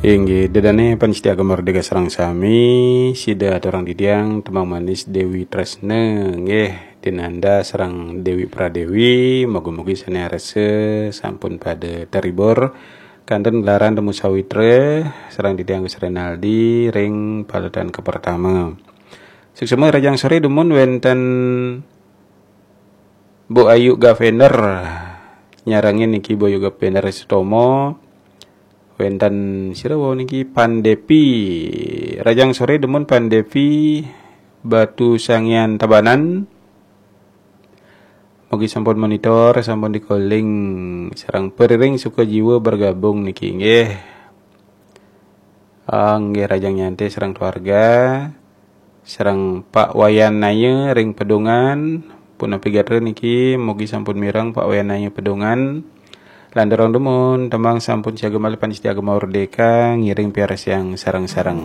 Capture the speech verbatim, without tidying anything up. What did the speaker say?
Inggih, ida dané pamiarsa Gema Merdeka sareng sami, sida aturang titiang tembang manis Dewi Tresna, nggih, Dinanda sareng Dewi Pradewi, mugi-mugi sané arsa sampun pada terhibur kanten gelaran Temu Sawitra sareng titiang Gus Renaldi ring paletan kapertama. Suksma, rahajeng soré dumun wénten Bu Ayu Gavender nyarengin niki, Bu Ayu Gavender Sutomo. Wénten sira wau niki, Pan Devi. Rahajeng soré dumun Pan Devi Batu Sangian Tabanan. Mugi sampun monitor, sampun dikoling sareng periring suka jiwa bergabung niki, nggih. Ah, nggih, rahajeng nyantai sareng keluarga, sareng Pak Wayan Naya ring Pedungan. Punapi gatra niki, mugi sampun mireng Pak Wayan Naya Pedungan. Lanturang dumun, tembang sampun siaga malih pamiarsa Gema Merdeka, ngiring piarsayang sareng-sareng.